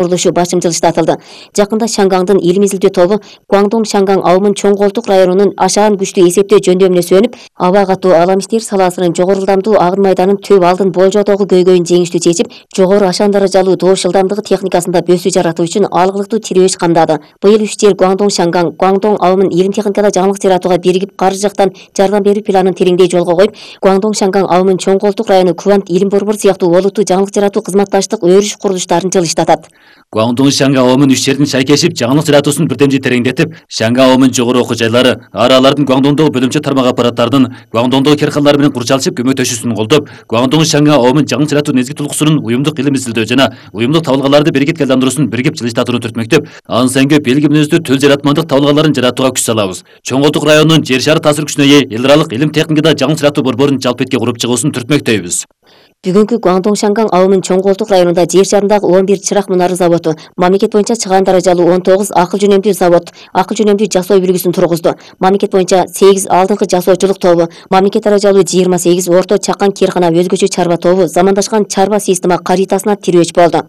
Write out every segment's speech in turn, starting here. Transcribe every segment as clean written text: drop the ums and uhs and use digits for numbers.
курулушу башым жылыштатылды. Жакында Шангаңдын илим изилдөө тобу Гуандong Шангаң ауымын Чоң Колтук районунун ашаан күчтүү эсептөө жөндөмүнө сүйөнүп, аба катуу алам иштер салаасынын жогору ылдамдуу агын майданын төп алдын болжоодогу көйгөйүн жеңиштүү чечип, жогору ашаан даражалуу добуш ылдамдыгы техникасында бөсүү жаратуу үчүн алгылыктуу тирөөч камдады. Быйыл 3 жер Гуандong Шангаң, Гуандong ауымын илим техникада жаңылык жаратууга биригип, каржы жактан жардам берүү планын тереңдей жолго коюп, Гуандong Шангаң ауымын Чоң Колтук району Квант илим борбору сыяктуу олуттуу жаңылык жаратуу кызматташтык өрүш курулуштарын жылыштатат. Гуандong Шангаң ауымын 3 жердин шайкешип, жаңылык жаратуусун бирдемжи тереңдетип, Шангаң ауымын жогору окуу жайлары, аралардын Гуандоңдогу бөлүмчө тармак аппараттарынын Гуандоңдогу керканалар менен курчалышып көмөктөшүүсүн колдоп, Гуандong Шангаң ауымын жаңылык жаратуу негизги тулкусунун уюмдук илим изилдөө жана уюмдук табылгаларды биригип айландыруусун биригип жылыштатууну түртмөктөп, аны сеңге белги мүнөздүү төл жаратмандык табылгаларын жаратууга күч салабыз. Чоң Колтук районунун жер шары таасир күчүнө ээ эл аралык илим техникада жаңылык жаратуу борборун жалпы этке куруп чыгуусун түртмөктөйбүз. Бүгүнкү Гуандong Шангаң ауымын Чоң Колтук районунда жер шарындагы 11 чырак мунары заводу, мамлекет боюнча чыгаан даражалуу 19 акыл жөнөмдүү завод, акыл жөнөмдүү жасоо үлгүсүн тургузду. Мамлекет боюнча 8 алдыңкы жасоочулук тобу, мамлекет даражалуу 28 орто чакан кээркана өзгөчө чарба тобу замандашкан чарба система каритасына тирөөч болду.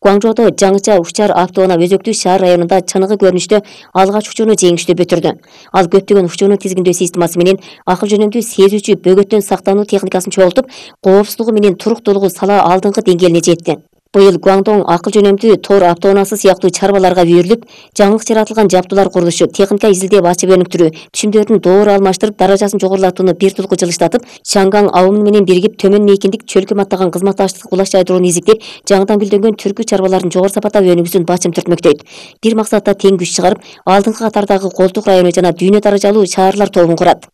Гуаңжоодо жаңыча учар автоунаа өзөктүү шаар районунда чыныгы көрүнүштө алгач учууну жеңиштүү бүтүрдү. Ал көптөгөн учууну тизгиндөө системасы менен акыл жөнөмдүү сезүүчү бөгөттөн сактануу техникасын чогултуп, коопсуздугу менен туруктуулугу сала алдыңкы деңгээлине жетти. Быйыл Гуандong акыл жөнөмдүү тор автоунаасы сыяктуу чарбаларга үйрүлүп, жаңылык жаратылган жабдуулар курулушу, техника изилдеп ачып өнүктүрүү, түшүмдөрдүн доору алмаштырып, даражасын жогорулатууну бир тулку жылыштатып, Шангаң ауымы менен биригип төмөн мейкиндик чөлкөм аттаган кызматташтык кулаш жайдырууну изиктеп, жаңыдан гүлдөнгөн түркү чарбалардын жогору сапатта өнүгүүсүн бачым түртмөктөйт. Бир максатта тең күч чыгарып, алдыңкы катардагы Колтук району жана дүйнө даражалуу шаарлар тобун курат.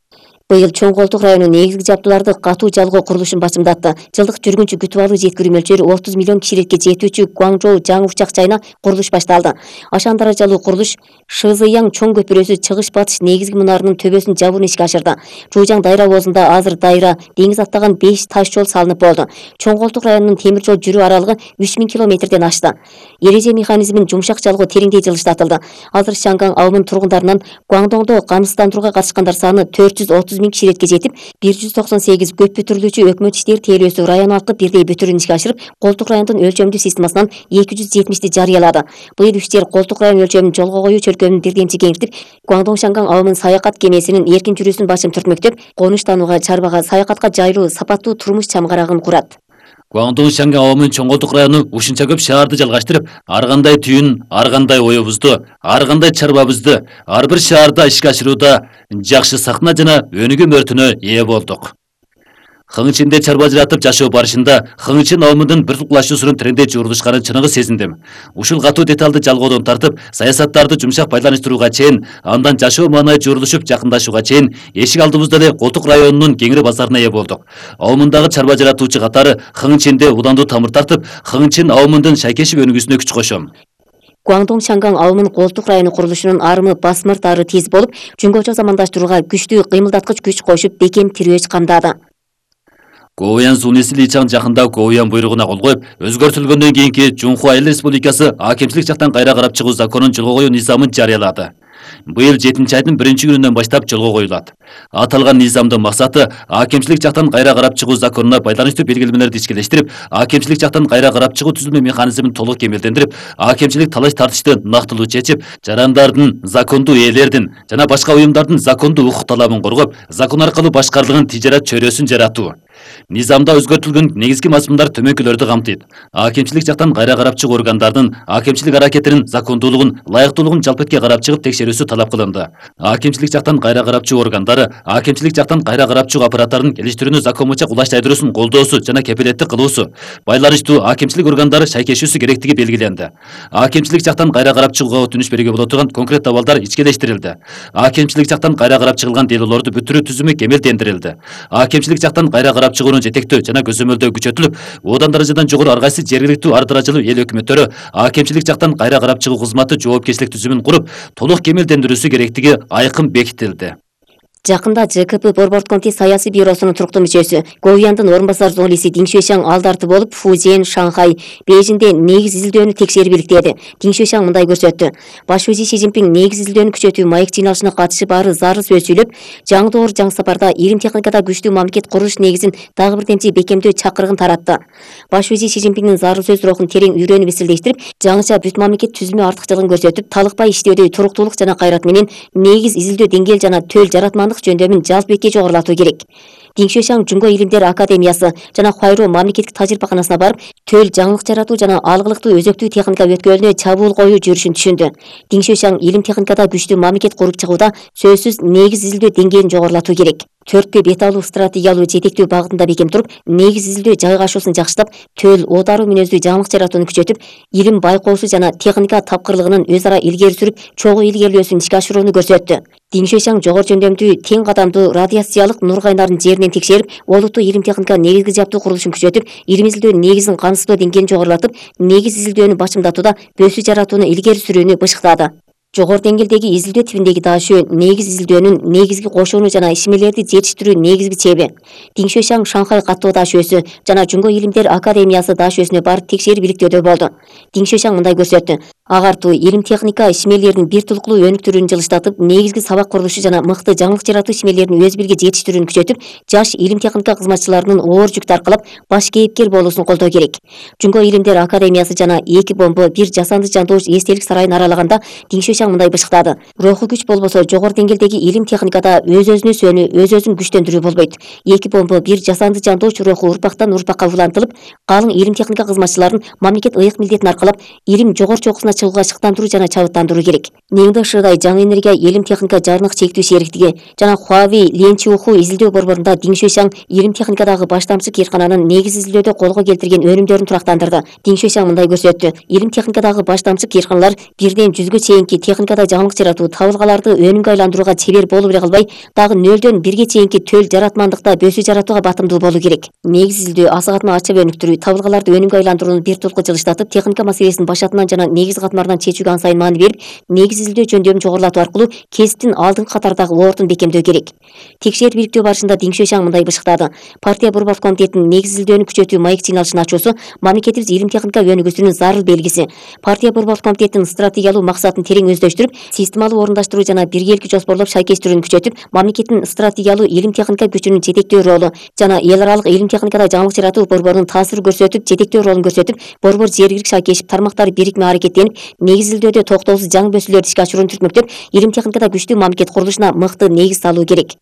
Быйыл Чоң Колтук району негизги жабдууларды катуу жалгоо курулушун бачымдатты. Жылдык жүргүнчү күтүп алуу жеткирүү мөлчөрү 30 миллион кишилекке жетүүчү Гуаңжоу жаңы учак жайына курулуш башталды. Ашаан даражалуу курулуш Шызыяң чоң көпүрөсү чыгыш батыш негизги мунарынын төбөсүн жабууну ишке ашырды. Жуужаң дайра обозунда азыр дайра, деңиз аттаган 5 таш жол салынып болду. Чоң Колтук районунун темир жол жүрүү аралыгы 3000 километрден ашты. Эреже механизмин жумшак жалгоо тереңдей жылыштатылды. Азыр Шангаң ауымынын тургундарынан Гуандоңдо камсыздандырууга катышкандар саны 430 миң киширетке жетип, 198 көп бүтүрүлүүчү өкмөт иштери тейлөөсү район алкы бирдей бүтүрүүнү ишке ашырып, Колтук райондун өлчөмдүү системасынан 270 жарыялады. Быйыл 3 жер Колтук район өлчөмүн жолго коюу чөлкөмүн бирдемчи кеңиртип, Гуандong Шангаң ауымынын саякат кемесинин эркин жүрүүсүн башым түртмөктөп, конуштанууга, чарбага, саякатка жайлуу, сапаттуу турмуш чамгарагын курат. Гуандong Шангаң ауымынын Чоң Колтук району ушунча көп шаарды жалгаштырып, ар кандай түйүн, ар кандай оюбузду, ар кандай чарбабызды ар бир шаарда ишке ашырууда жакшы сахна жана өнүгүү мөртүнө ээ болдук. Хың ичинде чарба жаратып жашоо барышында Хыңчин ауымынын бир тулкулашуусунун трендей жуурулушканын чыныгы сезиндим. Ушул катуу деталды жалгоодон тартып, саясаттарды жумшак байланыштырууга чейин, андан жашоо маанай жуурулушуп жакындашууга чейин эшик алдыбызда эле Колтук районунун кеңири базарына ээ болдук. Ауымындагы чарба жаратуучу катары Хыңчинде уландуу тамыр тартып, Хыңчин ауымынын шайкешип өнүгүүсүнө күч кошом. Гуандong Шангаң ауымынын Колтук району курулушунун арымы басмырт ары тез болуп, жөнгөчө замандаштырууга күчтүү кыймылдаткыч күч кошуп, бекем тирөөч камдады. Гоуян Сунеси Личаң жакында Гоуян буйругуна кол коюп, өзгөртүлгөндөн кийинки Жунхуа Эл Республикасы акимчилик жактан кайра карап чыгуу законун жолго коюу низамын жарыялады. Быйыл 7-айдын 1-күнүнөн баштап жолго коюлат. Аталган низамдын максаты акимчилик жактан кайра карап чыгуу законуна байланыштуу белгилемелерди ишкелештирип, акимчилик жактан кайра карап чыгуу түзүлмө механизмин толук кемелдендирип, акимчилик талаш тартышты нактылуу чечип, жарандардын, закондуу ээлердин жана башка уюмдардын закондуу укук талабын коргоп, закон аркылуу башкарылган тижарат чөйрөсүн жаратуу. Низамда өзгөртүлгөн негизги мазмундар төмөнкүлөрдү камтыйт. Акимчилик жактан кайра карап чыгуу органдардын акимчилик аракетинин закондуулугун, ылайыктуулугун жалпы этке карап чыгып текшерүүсү талап кылынды. Акимчилик жактан кайра карап чыгуу органдары акимчилик жактан кайра карап чыгуу аппараттарынын келиштирүүнү закон боюнча кулаш жайдыруусун колдоосу жана кепилеттик кылуусу, байланыштуу акимчилик органдары шайкешүүсү керектиги белгиленди. Акимчилик жактан кайра карап чыгууга өтүнүч берүүгө боло турган конкрет абалдар ичкелештирилди. Акимчилик жактан кайра карап чыгылган делолорду бүтүрүү түзүмү кемелдендирилди. Акимчилик жактан кайра карап чыгууну жетектөө жана көзөмөлдөө күчөтүлүп, одан даражадан жогору ар кайсы жергиликтүү ар даражалуу эл өкмөттөрү акимчилик жактан кайра карап чыгуу кызматы жоопкерчилик түзүмүн куруп, толук кемелдендирүүсү керектиги айкын бекитилди. Жакында ЖКП Борбордук комитет саясий бюросунун туруктуу мүчөсү, Говьяндын орун басар журналисти Дин Шуйшаң алдарты болуп, Фужен, Шанхай, Бейжиңде негиз изилдөөнү текшерип иликтеди. Дин Шуйшаң мындай көрсөттү. Баш вазир Си Цзиньпин негиз изилдөөнү күчөтүү маек жыйналышына катышып баары зарыл сөз сүйлөп, жаңы доор жаңы сапарда илим техникада күчтүү мамлекет курулуш негизин дагы бир темчи бекемдөө чакырыгын таратты. Баш вазир Си Цзиньпиндин зарыл сөз рухун терең үйрөнүп эселештирип, жаңыча бүт мамлекет түзүлмө артыкчылыгын көрсөтүп, талыкпай иштөөдө туруктуулук жана кайрат менен негиз изилдөө деңгээл жана төл жаратмандык жөндөмүн жалпыбекке жогорулатуу керек. Дин Шуйшаң Жунго илимдер академиясы жана Хуайру мамлекеттик тажрыйбаканасына барып, төл жаңылык жаратуу жана алгылыктуу өзөктүү техника өткөлүнө чабуул коюу жүрүшүн түшүндү. Дин Шуйшаң илим техникада күчтүү мамлекет куруп чыгууда сөзсүз негиз изилдөө деңгээлин жогорулатуу керек. Төрткө бет алуу стратегиялуу жетектөө багытында бекем туруп, негиз изилдөө жайгашуусун жакшытып, төл оодаруу мүнөздүү жаңылык жаратууну күчөтүп, илим байкоосу жана техника тапкырлыгынын өз ара илгери сүрүп, чогуу илгерилөөсүн ишке ашырууну көрсөттү. Дин Шуйшаң жогору жөндөмдүү тең кадамдуу радиациялык нур кайнарын жеринен текшерип, олуттуу илим техника негизги жаптуу курулушун күчөтүп, илим изилдөө негизин камсыздоо деңгээлин жогорулатып, негиз изилдөөнү бачымдатууда бөсүү жаратууну илгери сүрүүнү бышыктады. Жогору деңгээлдеги изилдөө типиндеги даашөө негиз изилдөөнүн негизги кошууну жана ишмерлерди жетиштирүү негизги чеби. Дин Шуйшаң Шанхай каттоо даашөөсү жана Жунго илимдер академиясы даашөөсүнө барып текшерип иликтөөдө болду. Дин Шуйшаң мындай көрсөттү. Агартуу илим техника ишмерлердин бир тулуктуу өнүктүрүүнү жылыштатып, негизги сабак курулушу жана мыкты жаңылык жаратуу ишмерлерин өз бирге жетиштирүүнү күчөтүп, жаш илим техника кызматчыларынын оор жүк таркалап, баш кейипкер болуусун колдоо керек. Жунго илимдер академиясы жана 2 бомба 1 жасанды жандооч эстелик сарайын аралаганда Дин Шуйшаң мындай бышыктады. Руху күч болбосо жогору деңгээлдеги илим техникада өз-өзүнө өзүн күчтөндүрүү болбойт. 2 бомба 1 жасанды жандооч руху урпактан урпакка улантылып, калың илим техника кызматчыларын мамлекет ыйык милдетин аркалап, илим жогору чокусуна чыгууга шыктандыруу жана чабыттандыруу керек. Неңде Шыдай жаңы энергия илим техника жарнык чектүү шериктиги жана Хуавей Ленчиуху изилдөө борборунда Дин Шуйшаң илим техникадагы баштамчы кыйркананын негиз изилдөөдө колго келтирген өнүмдөрүн турактандырды. Дин Шуйшаң мындай көрсөттү. Илим техникадагы баштамчы кыйрканалар 1ден 100гө чейинки техникада жаңылык жаратуу, табылгаларды өнүмгө айландырууга чебер болуп эле калбай, дагы 0дөн 1ге чейинки төл жаратмандыкта бөсүү жаратууга батымдуу болуу керек. Негиз изилдөө, аса катма ачып өнүктүрүү, табылгаларды өнүмгө айландырууну бир тулку жылыштатып, техника маселесин башатынан жана негиз катмарынан чечүүгө ан сайын маани берип, негиз изилдөө жөндөмүн жогорулатуу аркылуу кесиптин алдыңкы катардагы ордун бекемдөө керек. Текшерип иликтөө барышында Дин Шуйшаң мындай бышыктады. Партия Борбордук комитетинин негиз изилдөөнү күчөтүү маек жыйналышын ачуусу мамлекетибиз илим техника өнүгүүсүнүн зарыл белгиси. Партия Борбордук комитетинин стратегиялуу максатын терең өздөштүрүп, системалуу орундаштыруу жана биргеликти жоспорлоп шайкештирүүнү күчөтүп, мамлекеттин стратегиялуу илим техника күчүнүн жетектөө ролу жана эл аралык илим техникада жаңылык жаратуу борборунун таасирин көрсөтүп, жетектөө ролун көрсөтүп, борбор жергиликтик шайкешип тармактары бирикме аракеттенип, негиз изилдөөдө токтоосуз жаңы бөсүүлөрдү ишке ашырууну түртмөктөп, илим техникада күчтүү мамлекет курулушуна мыкты негиз салуу керек.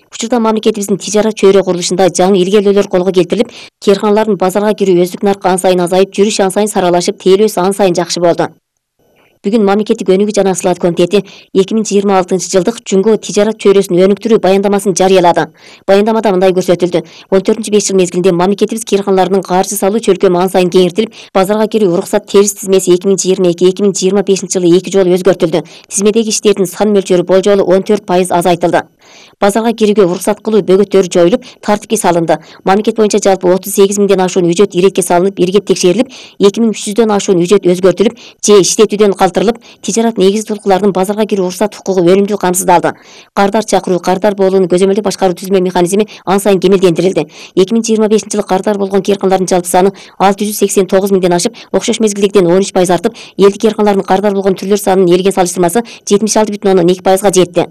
Учурда мамлекетибиздин тижарат чөйрө курулушунда жаңы илгерилөөлөр колго келтирилип, кыйрканалардын базарга кирүү өздүк наркы ан сайын азайып, жүрүш ан сайын саралашып, тейлөөсү ан сайын жакшы болду. Бүгүн мамлекеттик өнүгүү жана сылаат комитети 2026-жылдык Жунго тижарат чөйрөсүн өнүктүрүү баяндамасын жарыялады. Баяндамада мындай көрсөтүлдү. 14-5 жыл мезгилинде мамлекетибиз кыйрканаларынын каржы салуу чөлкөмү ан сайын кеңейтилип, базарга кирүү уруксат терис тизмеси 2022-2025 жылы 2 жолу өзгөртүлдү. Тизмедеги иштердин сан мөлчөрү болжолу 14% азайтылды. Базарга кирүүгө уруксат кылуу бөгөттөрү жоюлуп, тартипке салынды. Мамлекет боюнча жалпы 38 миңден ашуун үжөт иретке салынып, иргеп текшерилип, 2300дөн ашуун үжөт өзгөртүлүп, же иштетүүдөн калтырылып, тижарат негизи тулкулардын базарга кирүү уруксат укугу өнүмдүү камсыздалды. Кардар чакыруу, кардар болууну көзөмөлдөп башкаруу түзмө механизми ан сайын кемелдендирилди. 2025 жылы кардар болгон кыйрканалардын жалпы саны 689 миңден ашып, окшош мезгилдегиден 13% артып, элдик кыйрканалардын кардар болгон түрлөр санынын элге салыштырмасы 76,2%га жетти.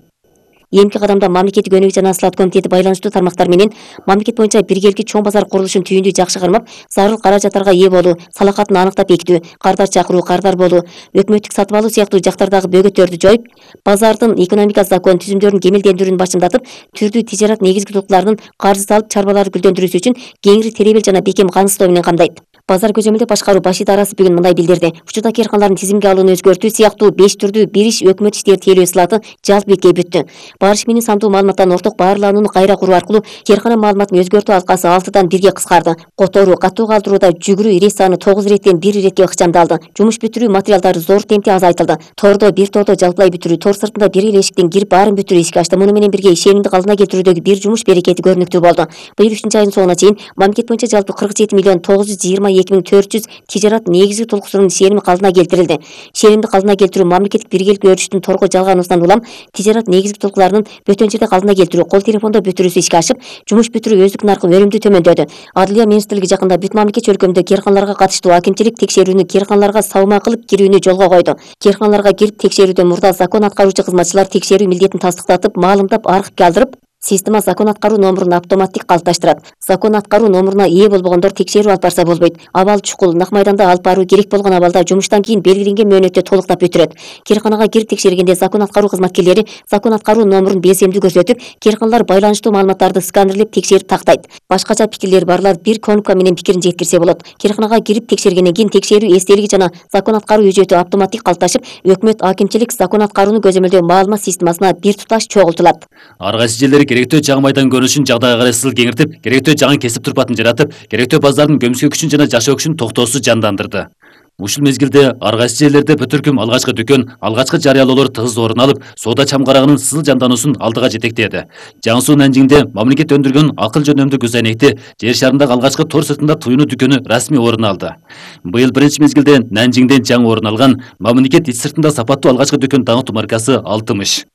Эмки кадамда мамлекеттик өнүгүү жана сылаат комитети байланыштуу тармактар менен мамлекет боюнча биргеликти чоң базар курулушун түйүндүү жакшы кармап, зарыл каражаттарга ээ болуу, салакатын аныктап бекитүү, кардар чакыруу, кардар болуу, өкмөттүк сатып алуу сыяктуу жактардагы бөгөттөрдү жоюп, базардын экономика закон түзүмдөрүн кемелдендирүүнү башымдатып, түрдүү тижарат негизги тулкуларынын каржы салып чарбаларды гүлдөндүрүүсү үчүн кеңири теребел жана бекем камсыздоо менен камдайт. Базар көзөмөлдөп башкаруу баш идарасы бүгүн мындай билдирди. Учурда кыйрканалардын тизимге алууну өзгөртүү сыяктуу 5 түрдүү бир иш өкмөт иштери тейлөө сылаты жалпы бекке бүттү. Барыш менен сандуу маалыматтан орток баарланууну кайра куруу аркылуу кыйркана маалыматын өзгөртүү алкасы 6дан 1ге кыскарды. Которуу, катуу калтырууда жүгүрүү ирет саны 9 иреттен 1 иретке ыкчамдалды. Жумуш бүтүрүү материалдары зор темпте азайтылды. Тордо бир тордо жалпылай бүтүрүү, тор сыртында бир эле эшиктен кирип баарын бүтүрүү ишке ашты. Муну менен бирге ишенимди калдына келтирүүдөгү бир жумуш берекети көрүнүктүү болду. Быйыл 3-айдын соңуна чейин мамлекет боюнча жалпы 47 миллион 927 2400 тижарат негизги толкусунун серими калдына келтирилди. Серимди калдына келтирүү мамлекеттик биргеликти өрүштүн торго жалганыбыздан улам тижарат негизги толкуларынын бөтөн жерде калдына келтирүү, кол телефондо бүтүрүүсү ишке ашып, жумуш бүтүрүү өздүк наркы өнүмдүү төмөндөдү. Адылия министрлиги жакында бүт мамлекет өлкөмдө керканаларга катыштуу акимчилик текшерүүнү керканаларга сабма кылып кирүүнү жолго койду. Керканаларга кирип текшерүүдөн мурда закон аткаруучу кызматчылар текшерүү милдетин тастыктатып, маалымдап, архивге алдырып, система закон аткаруу номурун автоматтик калыпташтырат. Закон аткаруу номуруна ээ болбогондор текшерүү алып барса болбойт. Абал чукул нак майданда алып баруу керек болгон абалда жумуштан кийин белгиленген мөөнөттө толуктап бүтүрөт. Керканага кирип текшергенде закон аткаруу кызматкерлери закон аткаруу номурун белсемдүү көрсөтүп, керканалар байланыштуу маалыматтарды сканерлеп текшерип тактайт. Башкача пикирлери барлар бир кнопка менен пикирин жеткирсе болот. Керканага кирип текшергенден кийин текшерүү эстелиги жана закон аткаруу үжөтү автоматтик калыпташып, өкмөт акимчилик закон аткарууну көзөмөлдөө маалымат системасына бир туташ чогултулат. Ар кайсы жерлери керектөө жаңы майдан көрүнүшүн жагдайга карай кеңиртип, керектөө жаңы кесип турпатын жаратып, керектөө баздардын көмүскө күчүн жана жашоо күчүн токтоосуз жандандырды. Ушул мезгилде ар кайсы жерлерде бөтөркүм алгачкы дүкөн, алгачкы жарыялоолор тыгыз орун алып, соода чамгарагынын сызыл жандануусун алдыга жетектеди. Жаңысуу Нанжиңде мамлекет өндүргөн акыл жөнөмдүү көз айнекти жер шарындагы алгачкы тор сыртында туюну дүкөнү расмий орун алды. Быйыл биринчи мезгилде Нанжиңден жаңы орун алган мамлекет ич сыртында сапаттуу алгачкы дүкөн даңктуу маркасы Алтымыш.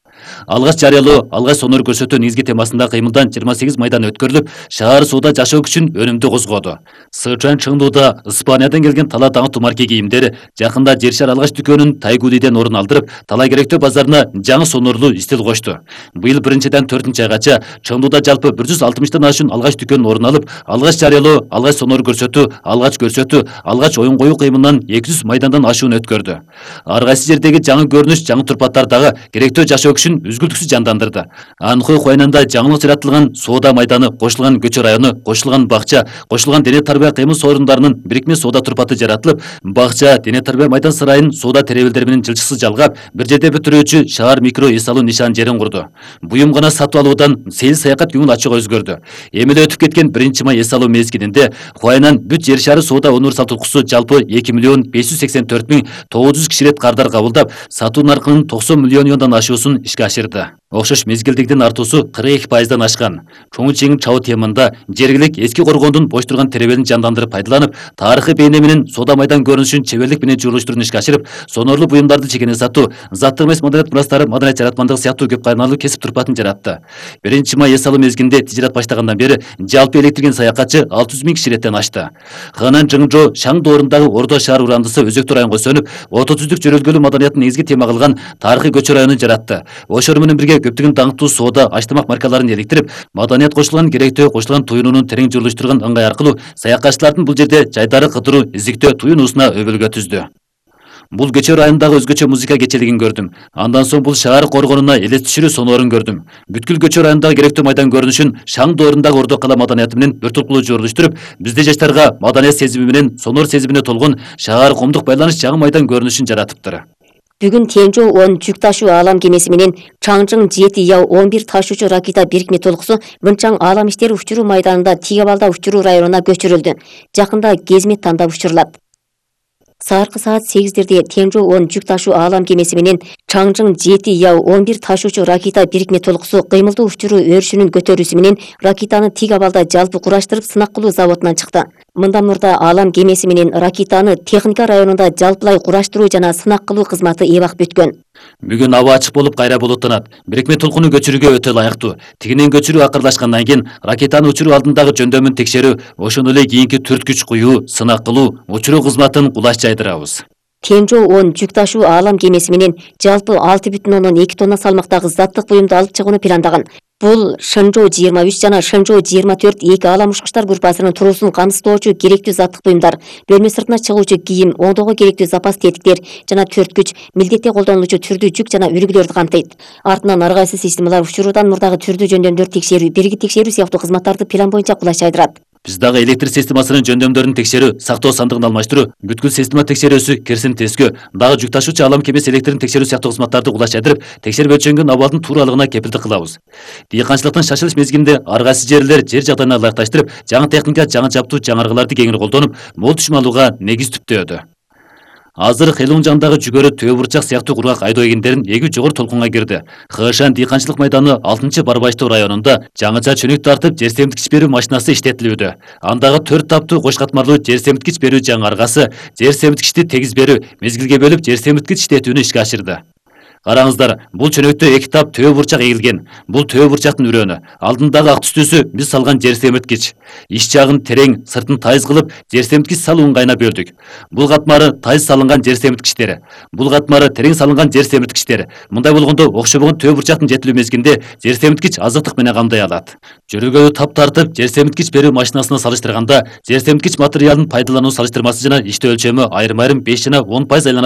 Алгач жарыялоо, алгач сонор көрсөтүү негизги темасында кыймылдан 28 майдан өткөрүлүп, шаар соода жашоо күчүн өнүмдүү козгоду. Сычуан Чыңдууда Испаниядан келген тала даңктуу марка кийимдер жакында жер шар алгач дүкөнүн Тайгулиден орун алдырып, тала керектөө базарына жаңы сонорлуу стил кошту. Быйыл 1-ден 4-айгача Чыңдууда жалпы 160тан ашуун алгач дүкөн орун алып, алгач жарыялоо, алгач сонор көрсөтүү, алгач оюн коюу кыймылынан 200 майдандан ашуун өткөрдү. Ар кайсы жердеги жаңы көрүнүш, жаңы турпаттар дагы керектөө жашоо күчүн үзгүлтүксүз жандандырды. Анхой Хуайнанда жаңылык жаратылган соода майданы, кошулган көчө району, кошулган бакча, кошулган дене тарбия кыймыл сорундарынын бирикме соода турпаты жаратылып, бакча, дене тарбия майдан сарайын соода теребелдери менен жылчыксыз жалгап, бир жерде бүтүрүүчү шаар микро эс алуу нишан жерин курду. Буюм гана сатып алуудан сейил саякат көңүл ачууга өзгөрдү. Эми эле өтүп кеткен 1 май эс алуу мезгилинде Хуайнан бүт жер шары соода универсал туркусу жалпы 2.584.900 киширет кардар кабылдап, сатуу наркынын 90 миллион юандан ашуусун ишке ашырды. Окшош мезгилдигдин артуусу 42%дан ашкан. Чоң чең чабуу темында жергилик эски коргондун бош турган теребелин жандандырып пайдаланып, тарыхый бейне менен соода майдан көрүнүшүн чеберлик менен журулуштууруну ишке ашырып, сонорлуу буюмдарды чекене сатуу, заттык эмес маданият мурастары, маданият жаратмандык сыяктуу көп кайнарлуу кесип турпатын жаратты. 1 май эс алуу мезгилинде тижарат баштагандан бери жалпы электирген саякатчы 600 000 киширеттен ашты. Ханан Жыңжо Шаң доорундагы Ордо шаар урандысы өзөктүү районго сөнүп, ото түздүк жөрөлгөлүү маданиятын негизги тема кылган тарыхый көчө районун жаратты. Ошор менен бирге көптөгөн даңктуу соода, аштамак маркаларын электирип, маданият кошулган керектөө кошулган туюнунун терең журулуштурган ыңгай аркылуу саякатчылардын бул жерде жайдары кыдыруу, издиктөө туюнуусуна өбөлгө түздү. Бул көчө районундагы өзгөчө музыка кечелигин көрдүм. Андан соң бул шаар коргонуна элес түшүрүү сонорун көрдүм. Бүткүл көчө районундагы керектөө майдан көрүнүшүн Шаң доорундагы Ордо кала маданияты менен бир толкулуу журулуштуруп, бизде жаштарга маданият сезими менен сонор сезимине толгон шаар коомдук байланыш жаңы майдан көрүнүшүн жаратыптыр. Бүгүн Тенжо 10 жүк ташуу аалам кемеси менен Чаңжың 7 Яу 11 ташуучу ракета бирикме толкусу Мынчаң аалам иштери учуруу майданында Тигабалда учуруу районуна көчүрүлдү. Жакында кезмет тандап учурулат. Сааркы саат 8-дерде Тенжо 10 жүк ташуу аалам кемеси менен Чаңжың 7 Яу 11 ташуучу ракета бирикме толкусу кыймылдуу учуруу өрүшүнүн көтөрүүсү менен ракетаны Тигабалда жалпы кураштырып сынак кылуу заводунан чыкты. Мындан мурда аалам кемеси менен ракетаны техника районунда жалпылай кураштыруу жана сынак кылуу кызматы эбак бүткөн. Бүгүн аба ачык болуп кайра булуттанат. Бирикме толкуну көчүрүүгө өтө ылайыктуу. Тигинен көчүрүү акырлашкандан кийин ракетаны учуруу алдындагы жөндөмүн текшерүү, ошондой эле кийинки түрткүч куюу, сынак кылуу, учуруу кызматын кулаш жайдырабыз. Тенжо 10 жүк ташуу аалам кемеси менен жалпы 6,2 тонна салмактагы заттык буюмду алып чыгууну пландаган. Бул Шэнжоу 23 жана Шэнжоу 24 эки аалам учкучтар группасынын туруусун камсыздоочу керектүү заттык буюмдар, бөлмө сыртына чыгуучу кийим, оңдоого керектүү запас тетиктер жана түрткүч, милдетте колдонулуучу түрдүү жүк жана үлгүлөрдү камтыйт. Артынан ар кайсы системалар учуруудан мурдагы түрдүү жөндөмдөрдү текшерүү, бирги текшерүү сыяктуу кызматтарды план боюнча кулаш жайдырат. Биз дагы электр системасынын жөндөмдөрүн текшерүү, сактоо сандыгын алмаштыруу, бүткүл система текшерүүсү, керсин тескөө, дагы жүк ташуучу аалам кемеси электрин текшерүү сыяктуу кызматтарды кулаш жайдырып, текшерип өлчөнгөн абалдын тууралыгына кепилдик кылабыз. Дыйканчылыктын шашылыш мезгилинде ар кайсы жерлер жер жагдайына ылайыкташтырып, жаңы техника, жаңы жаптуу, жаңыргыларды кеңири колдонуп, мол түшүм алууга негиз түптөөдү. Азыр Хелуң жандагы жүгөрү төө бурчак сыяктуу кургак айдоо эгиндерин эгүү жогору толкунга кирди. Хышан дыйканчылык майданы 6-Барбаштоо районунда жаңыча чөнөк тартып жер семиткич берүү машинасы иштетилүүдө. Андагы 4 таптуу кош катмарлуу жер семиткич берүү жаңаргасы жер семиткичти тегиз берүү, мезгилге бөлүп жер семиткич иштетүүнү ишке ашырды. Караңыздар, бул чөнөктө 2 тап төө бурчак эгилген. Бул төө бурчактын үрөнү. Алдындагы ак түстүүсү биз салган жер семиткич. Иш жагын терең, сыртын тайыз кылып, жер семиткич салуу ыңгайына бөлдүк. Бул катмары тайыз салынган жер семиткичтери. Бул катмары терең салынган жер семиткичтери. Мындай болгондо окшобогон төө бурчактын жетилүү мезгилинде жер семиткич азыктык менен камдай алат. Жөрөгөйү тап тартып, жер семиткич берүү машинасына салыштырганда, жер семиткич материалын пайдалануу салыштырмасы жана иштөө өлчөмү айрым-айрым 5 жана 10% айлана